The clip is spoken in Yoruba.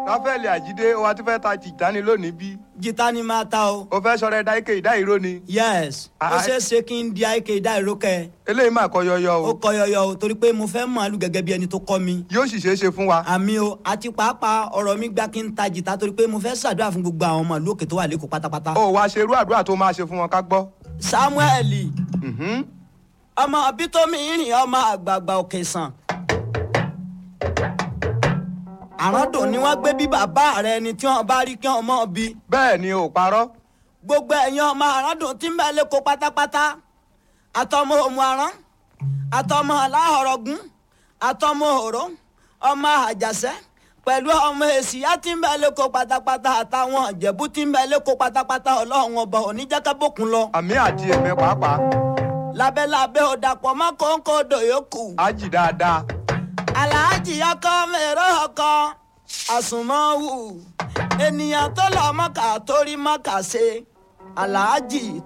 Ráfẹ́lì Àjídé, o wa ti fẹ́ ta tìjáni lónìí bí? Jìtá ni máa ta o. O fẹ́ sọ̀rọ̀ ẹ̀dá ike ìdá ìró ni. Yes, ó Ah, ṣeé ṣe kí n di àìkè ìdá ìrókẹ. Eléyìí mà kọ yọyọ Ó o. kọ yọyọ o, torí pé mo fẹ́ màálù gẹ́gẹ́ bí ẹni tó kọ́ mi. Yóò sì ṣeé ṣe fún wa. Àmì o, àti pàápàá ọ̀rọ̀ mi gbá kí n ta jìtá torí pé mo fẹ́ ṣàdúrà fún gbogbo àwọn ọmọ ìlú òkè tó wà lẹ́kọ̀ọ́ pátápátá. O wa ṣe irú àdúrà tó máa ṣe fún wọn ká gbọ́. Samuel, Mhm. ọmọ bítómi ìrìn ọmọ àgbààgbà òkè sàn. Àràndùn ni wọ́n gbé bí bàbá rẹ ni tí wọ́n bá rí kí wọ́n mọ̀ bí. Bẹ́ẹ̀ ni ò parọ́. Gbogbo ẹ̀yin ọmọ àràndùn tí ń bẹ lẹ́kọ̀ọ́ pátápátá, àtọmọ òmù àrán, àtọmọ aláhọ̀rọ̀gún, àtọmọ òró, ọmọ àjàṣẹ́, pẹ̀lú ọmọ èsìyá tí ń bẹ lẹ́kọ̀ọ́ pátápátá, àtàwọn ìjẹ̀bú tí ń bẹ lẹ́kọ̀ọ́ pátápátá, ọlọ́run ọba oníjàkábòkun lọ. Àmì àti èmi pàápàá. Lábẹ́lábẹ́ ò dàpọ̀ mọ́ kóńkó odò yòókù. Á jì dáadáa. Aláàjì ọkọ mèrò ọkọ àsùnmọ́wù, ènìyàn tó lọ mọ́kà torí mọ́kà ṣe aláàjì.